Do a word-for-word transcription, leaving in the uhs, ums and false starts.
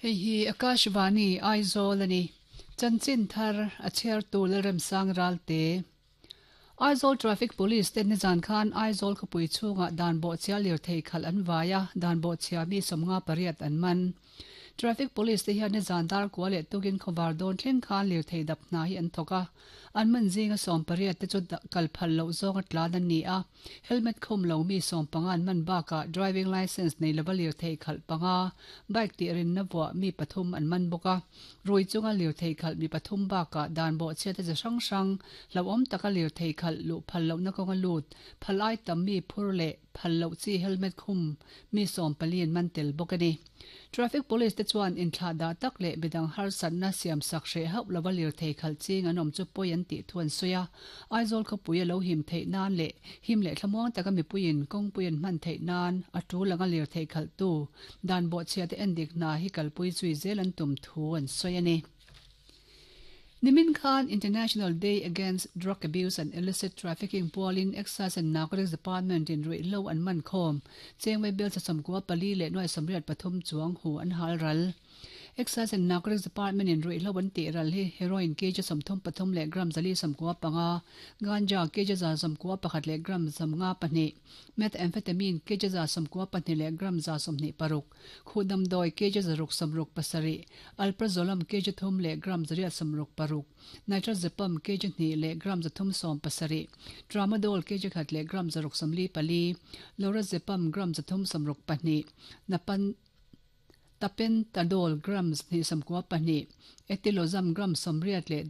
Hei hi Akashvani Aizawl ani. Chanchin thar a chhiartu Lalremsang Ralte. Aizawl Traffic Police ten nizan khan Aizawl khawpui chhungah dan bawhchhia lirthei khalh an vai a, dan bawhchhia mi sawmnga pariat an man. Traffic Police te hian nizan dar kua leh tukin khawvar dawn thleng khan lirthei dap hna hi an thawk a, an man zinga sawm pariat te chu kal phal loh zawnga tlan an ni a, helmet khum lo mi sawm panga an man bakah driving licence nei lova lirthei khalh panga, bike tih rinna vuah mi pathum an man bawk a, rui chunga lirthei khalh mi pathum bakah dan bawhchhiat a chi hrang hrang, hlauhawm taka lirthei khalh luh phal lohna kawnga lut, phal ai tam mi phur leh phal loh chi helmet khum mi sawm pali an man tel bawk a ni. Traffic Police te chuan inthlah dah tak leh midang harsatna siam sak hreh hauh lova lirthei khalh ching an awm chu pawi an tih thu an sawi a, Aizawl khawpui a lo him theih nan leh him leh thlamuang taka mipuiin kawngpui an hman theih nan a tul anga lirthei khalhtu dan bawhchhia te endik hna hi kalpui zui zel an tum thu an sawi a ni. Nimin khan International Day Against Drug Abuse and Illicit Trafficking pualin Excise and Narcotics Department in ruihhlo an man khawm. Chengwei bel chasawmkua pali leh nuai sawmriat pathum chuang hu an hal ral. Excise and Narcotics Department in ruihhlo an tih ral hi heroin kg sawmthum pathum leh gram zali sawmkua panga, ganja kg za sawmkua pakhat leh gram sawmnga pahnih, methamphetamine kg za sawmkua pahnih leh gram za sawmhnih paruk, khuhdamdawi kg zaruk sawmruk pasarih, alprazolam kg thum leh gram zariat sawmruk paruk, nitrazepam kg hnih leh gram zathum sawm pasarih, tramadol kg khat leh gram zaruk sawmli pali, lorazepam gram zathum sawmruk pahnih, napan tapentadol gram hnih sawmkua pahnih, etilozam gram sawmriat leh